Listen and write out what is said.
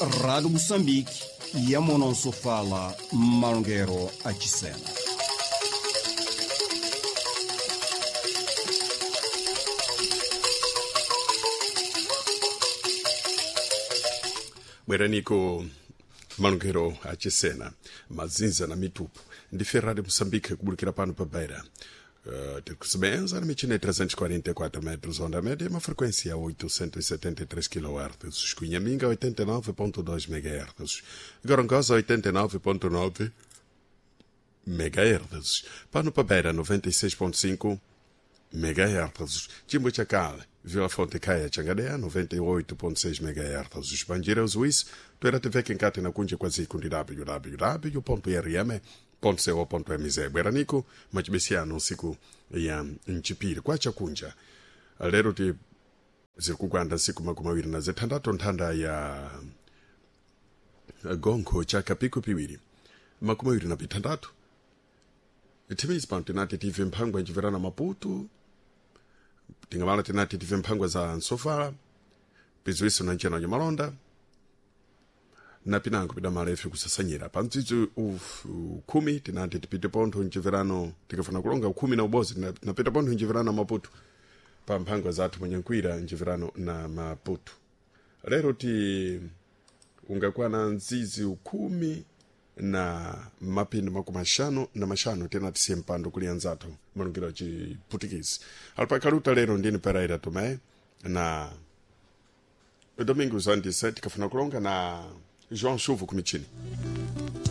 Rádio Moçambique, Yamonosofala, Malongero Achisena. Bweraniko malongero achisena mazinza na mitupu ndi Ferrari Moçambique kubulikira pano pa Beira. Tikusebenza na michina ya 344 metros onda média, uma frequência 873 kHz, Cunhaminga 89.2 MHz, Gorongosa 89.9 MHz, Pano pa Beira 96.5 MHz, Chimbo Chakale, Vila Fonte Caia Changadea 98.6 MHz, Banjira Suíço, Tuera TV Kenkate na Kunja kwa zikundi www.rm .co.mz. Bweranico machibesiano siku ya mchipiri kwa chakunja lero ti zikugwanda nsiku 26 nthanda ya gonkho chaka piku piwiri 26 thimezi pano tinati tive mphangwa nchiverana Maputo, tingamala tinati tive mphangwa za nsofala piziwiso na ncena malonda na pinango pidamala ife kusasanyira pa mdzidzi ukhumi tinati tipite pontho mchiverano tikafuna kulonga ukhumi na ubozi tinapita pontho mchiverano Maputo pa mphangwa zathu mwenyankwira mchiverano na Maputo. Lero ti ungakwana mdzidzi ukhumi na mapindu 56 tinati siye mpando kuli anzathu malungiro achiputikisi alipakaluta. Lero ndini Pereira Tomé na Domingos Andise tikafuna kulonga na João Chuvo kumichini.